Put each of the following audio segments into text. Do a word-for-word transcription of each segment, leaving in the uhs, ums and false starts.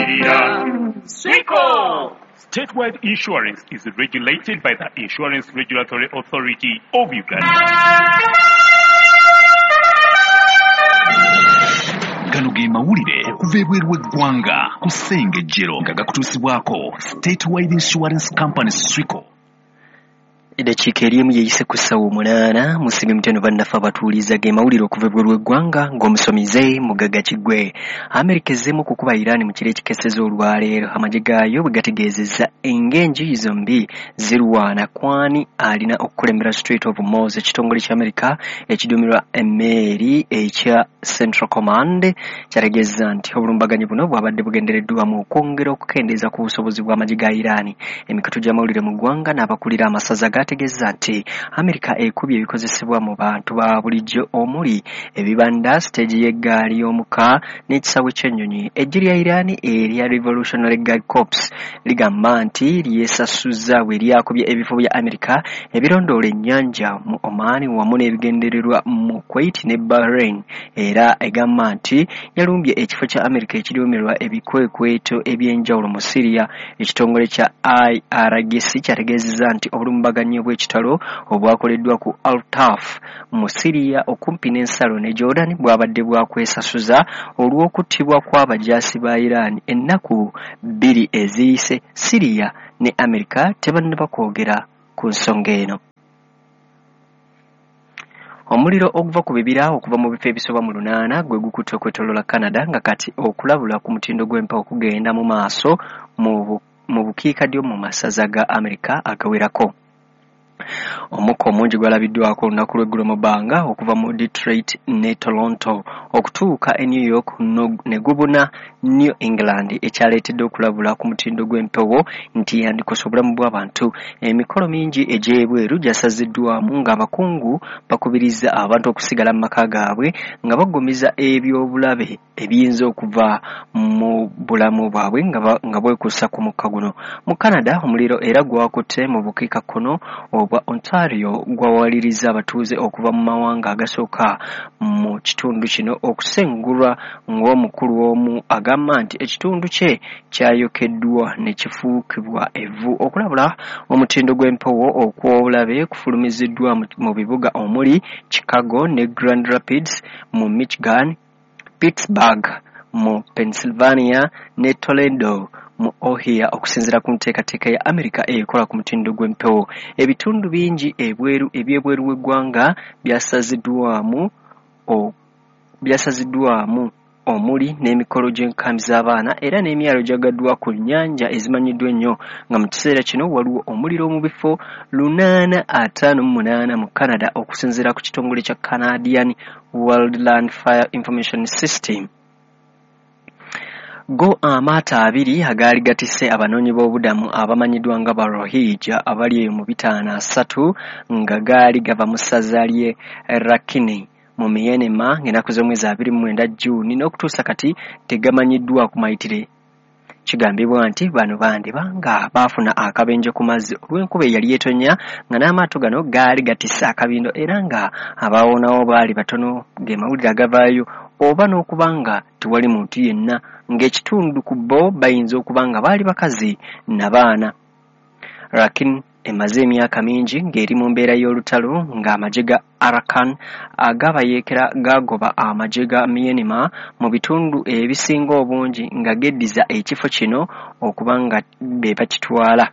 Tukulabirira. Swico. Statewide Insurance is regulated by the Insurance Regulatory Authority of Uganda. Gano ge mawulire okuva ebweru w'eggwanga ku Ssengejjero nga gakutuusibwako Statewide Insurance Company Swico. Eddakiika eri emu yeeyise ku ssaawa omunaana musibe muteno bannaffe abatuuliza ge mawulire okuva ebweru w'eggwanga ng'omusomize Mugagga Kiggwe. Amerika ezzeemu okukuba Iran mu kiro ekikeseza olwaleero amagye gaayo bwe gategeezezza ng'enjuyi zombi zirwana kwani alina okukulembera Strait of Hormuz. Ekitongole kya Amerika ekiduumirwa emmeeri ekya Central Command kyategeezezza nti obulumbaganyi buno bwabadde bugendereddwamu okwongera okukendeeza ku busobozi bw'amagye ga Iran. Emikutu gy'amawulire mu ggwanga n'abakulira amasaza gategeeza nti Amerika ekubye ebikozesebwa mu bantu ba bulijjo omuli ebibanda, siteegi y'eggaali y'omuka n'ekisaawe ky'ennyonyi. Eggye lya Iran erya Revolutionary Guard Corps ligamba nti lyesasuzza bwe lyakubye ebifo bya Amerika ebirondoola ennyanja mu Oman wamu n'ebigendererwa mu Kuwait ne Bahrain. Era egamba nti yalumbye ekifo kya Amerika ekiduumirwa ebikwekweto eby'enjawulo mu Syria. Ekitongole kya I R G C kyategeezezza nti obulumbaganyi obw'ekitalo obwakoleddwa ku Al-Taf mu Syria okumpi n'ensalo ne Jordan bwabadde bwakwesasuza olw'okuttibwa kw'abajaasi ba Iran ennaku bbiri eziyise. Syria ne Amerika tebannaba kwogera ku nsonga eno. Omuliro oguva ku bibira okuva mu bifo ebisoba mu lunaana gwe gukutte okwetooloola Canada nga kati okulabula ku mutindo gw'empewo kugenda mu maaso mu mu bukiikaddyo mu masaza ga Amerika agawerako. Omukka omungi gwalabiddwako olunaku lw'eggulo mu bbanga okuva mu Detroit ne Toronto okutuuka e New York ne gubuna New England ekyaleetedde okulabula ku mutindo gw'empewo nti yandikosa obulamu bw'abantu. Emikolo mingi egy'ebweru gyasaziddwamu ng'abakungu bakubiriza abantu okusigala mu maka gaabwe nga baggumiza ebyobulabe ebiyinza okuva mu bulamu bwabwe nga bwekuusa ku mukka guno. Mu Canada omuliro era gwakutte mu bukiikakkono obwa Ontario gwawaliriza abatuuze okuva mu mawanga agasooka mu kitundu kino okusengulwa ng'omukulu omu agamba nti ekitundu kye kyayokeddwa ne kifuukibwa evvu. Okulabula omutindo gw'empewo okw'obulabe kufulumiziddwa mu bibuga omuli Chicago ne Grand Rapids mu Michigan, Pittsburgh mu Pennsylvania ne Toledo mu Ohio okusinziira ku nteekateeka ya Amerika ekola ku mutindo gw'empewo. Ebitundu bingi ebweru eby'ebweru w'eggwanga byasaziddwamu byasaziddwamu omuli n'emikolo gy'enkambi z'abaana era n'emyalo gyagaddwa ku nnyanja ezimanyiddwa ennyo nga mu kiseera kino waliwo omuliro mu bifo lunaana ataano mu munaana mu Canada okusinziira ku kitongole kya Canadian Wildland Fire Information System. Go amaato abiri agaali gatisse abanoonyi b'obubudamu abamanyiddwa nga ba Rohingya abali eyo mu bitaano asatu nga gaali gava mu ssaza ly'e Rakhine mu Myanmar ng'ennaku z'omwezi abiri mu mwenda June n'okutuusa kati tegamanyiddwa ku mayitire. Kigambibwa nti bano bandiba nga baafuna akabenje ku mazzi olw'enkuba eyali etonnya nga n'amaato gano gaali gatisse akabindo era nga abaawonawo baali batono. Ge mawulire agavaayo oba n'okuba nga tewali muntu yenna ng'ekitundu ku bo bayinza okuba nga baali bakazi na baana. Rakhine emaze emyaka mingi ng'eri mu mbeera y'olutalo ng'amagye ga Arakan agabayeekera gagoba amagye ga Myanmar mu bitundu ebisinga obungi nga geddiza ekifo kino okuba nga be bakitwala.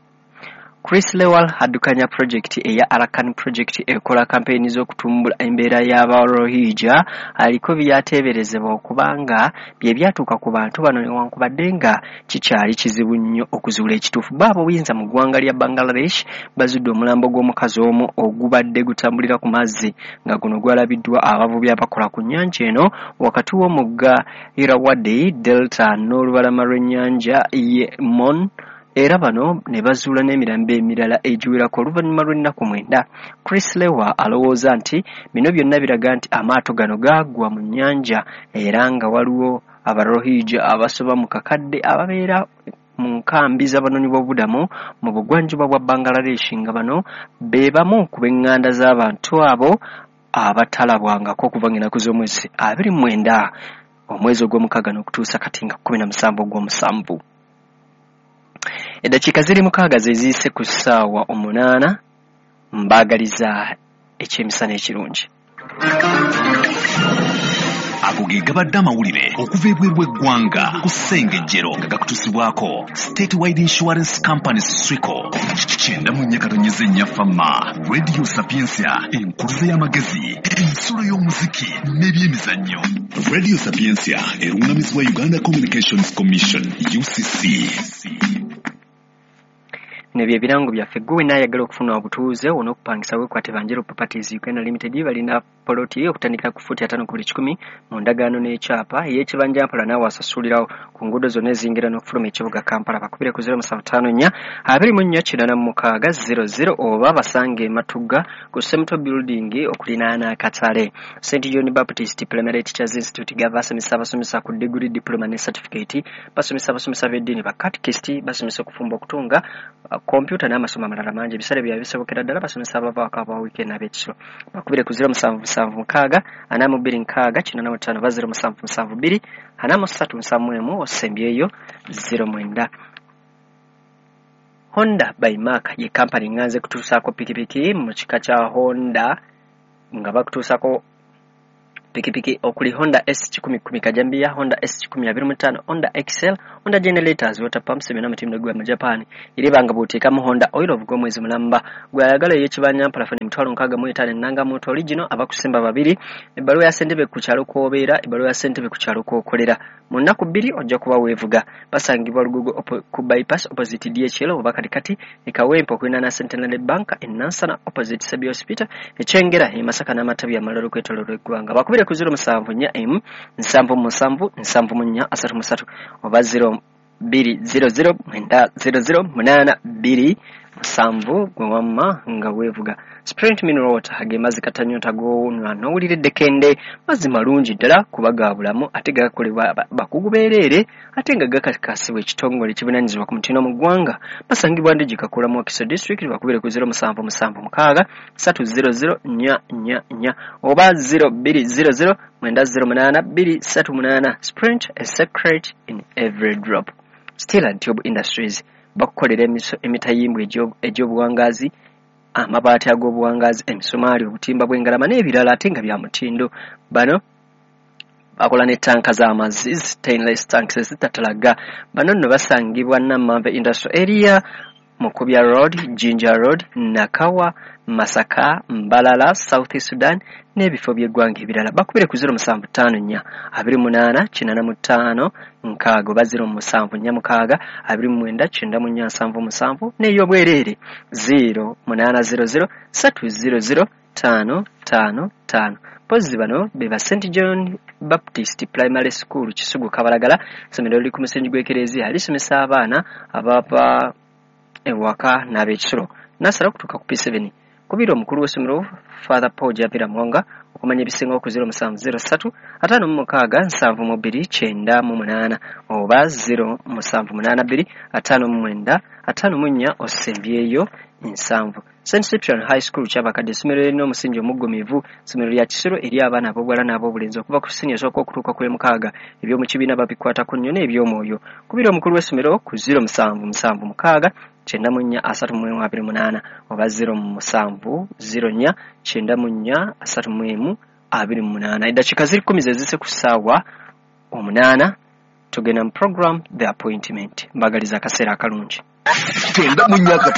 Chris Lewal addukanya pulojekiti eya Arakan Project ekola kampeyini z'okutumbula embeera y'Abarohingya aliko byateeberezebwa okuba nga bye byatuuka ku bantu bano newankubadde nga kikyali kizibu nnyo okuzuula ekituufu. Bo ab'obuyinza mu ggwanga lya Bangladesh bazudde omulambo gw'omukazi omu ogubadde gutambulira ku mazzi nga guno gwalabiddwa abavubi abakola ku nnyanja eno wakati w'omugga Irrawaddy Delta n'olubalama lw'ennyanja ye Mon era bano ne bazuula n'emirambo emirala egiwerako oluvannyuma lw'ennaku mwenda. Chris Lewa alowooza nti bino byonna biraga nti amaato gano gaagwa mu nnyanja era nga waliwo Abarohingya abasoba mu kakadde ababeera mu nkambi z'abanoonyi b'obubudamu mu bugwanjuba bwa Bangladesh nga bano be bamu ku b'eŋŋanda z'abantu abo abatalabwangako okuva ng'ennaku z'omwezi abiri mu mwenda omwezi ogw'omukaaga n'okutuusa kati nga kkumi na musanvu ogw'omusanvu. Eddakiika ziri mukaaga ze ziyise ku ssaawa omunaana, mbaagaliza ekyemisana ekirungi. Ago ge gabadde amawulire okuva ebweru w'eggwanga ku Ssengejjero nga gakutuusibwako Statewide Insurance Company Swico. Kyenda mu nnya katonyeze nnya Fama, Radio Sapientia, enkuluze y'amagezi, ensulo y'omuziki n'ebyemizannyo. Radio Sapientia erungamizibwa Uganda Communications Commission U C C. Bino bye birango byaffe. Gwe wenna ayagala okufuna obutuuze on'okupangisa weekwate Banjero Properties Uganda Limited. Balina poloti okutandikira ku fuuti ataano ku buli kikumi mu ndagaano n'ekyapa ey'ekibanja mpola, naawe asasulirawo ku nguudo zonna eziyingira n'okufuluma ekibuga Kampala. Bakubire ku zero musanvu ttaano nnya abiri mu nnya kinaana mu mukaaga zero zero oba basange e Matugga ku Semuto Building okulinaana akatale. Saint John Baptist Primary Teachers Institute gava basomesa abasomesa ku degree, diploma ne certificate, basomesa abasomesa b'eddiini, ba catechist, basomesa okufumba, okutunga, kompyuta n'amasomo amalala mangi. Ebisale byabwe bisobokera ddala, basomesa abavaako aba weekend n'ab'ekisolo. Bakubire ku zero musanvu musanvu mukaaga ana mu bbiri nkaaga kinaana mu ttaano oba zero musanvu musanvu bbiri ana mu ssatu nsanvu mu emu osembyeyo zero mwenda. Honda by Mark ye kampani nganze kutuusaako pikipiki mu kika kya Honda, nga bakutuusaako pikipiki okuli Honda S kikumi kumi Kajambiya, Honda S kikumi abiri mu ttaano, Honda X L, Honda Generators, Water Pumps byonna mutindo gwa mu Japan. Eribanga bw'oteekamu Honda Oil of gw'omwezi mulamba. Gw'ayagala ey'ekibanja mpola emitwalo nkaaga mu etaano ennanga moto original, abakusimba babiri, ebbaluwa ya ssentebe ku kyalo kw'obeera, ebbaluwa ya ssentebe ku kyalo kw'okolera. Mu nnaku bbiri ojja kuba weevuga. Basangibwa Lugogo ku bypass opposite D H L oba katikati e Kawempe okulinaana Centenary Bank e Nansana opposite Sebi Hospital, e Kyengera e Masaka n'amatabi amalala okwetooloola eggwanga. Bakubire ku zero musanvu nnya emu nsanvu musanvu nsanvu mu nnya asatu mu ssatu oba zero bbiri zero zero mwenda zero zero munaana bbiri musanvu gwe wamma nga weevuga. Sprint Mineral Water ge mazzi katanyota g'onywa n'owulira eddekende, mazzi malungi ddala kuba ga bulamu ate gakolebwa bakugu beereere ate nga gakakasibwa ekitongole ekivunaanyizibwa ku mutindo mu ggwanga. Basangibwa Ndigi Kakula mu Wakiso District. Bakubire ku zero musanvu musanvu mukaaga ssatu zero zero nnya nnya nnya oba zero bbiri zero zero mwenda zero munaana bbiri ssatu munaana. Sprint, a secret in every drop. Steel and Tube Industries bakukolera emitayimbwa egy'obuwangaazi, amabaati ag'obuwangaazi, emisumaali, obutimba bw'engalama n'ebirala ate nga bya mutindo. Bano bakola ne tanka z'amazzi, stainless tanks ezitatalaga. Bano nno basangibwa Namanve Industrial Area, Mukubya Road, Jinja Road, Nakawa, Masaka, Mbalala, South Sudan n'ebifo by'eggwanga ebirala. Bakubire ku zero musanvu ttaano nnya abiri munaana kinaana mu ttaano nkaaga oba zero musanvu nnya mukaaga abiri mu mwenda kyenda mu nnya nsanvu musanvu n'ey'obwereere zero munaana zero zero ssatu zero zero ttaano ttaano ttaano. Mpozzi bano be ba Saint John Baptist Primary School Kisugu Kabalagala, essomero liri ku musingi gw'ekereziya, lisomesa abaana abava ewaka n'ab'ekisulo nasala okutuuka ku P seven. Kubira omukulu w'essomero Father Paul Javira Mwanga okumanya ebisingawo ku zero musanvu zero ssatu ataano mu mukaaga nsanvu mu bbiri kyenda mu munaana oba zero musanvu munaana bbiri ataano mu mwenda ataano mu nnya osembyeyo nsanvu. Saint Cyprian High School Kyabakadde, essomero erina omusingi omuggumivu, essomero lya kisiro eri abaana ab'obuwala n'ab'obulenzi okuva ku siniya esooka okutuuka ku emukaaga. Eby'omu kibiina babikwatako nnyo n'eby'omwoyo. Kubira omukulu w'essomero ku zero musanvu musanvu mukaaga kyenda mu nnya asatu mu emu abiri munaana oba zero musanvu zero nnya kyenda mu nnya asatu mu emu abiri munaana. Eddakiika ziri kkumi ze zise ku ssaawa omunaana, tugenda mu program The Appointment. Mbagaliza akaseera akalungi. Kyenda mu nnya.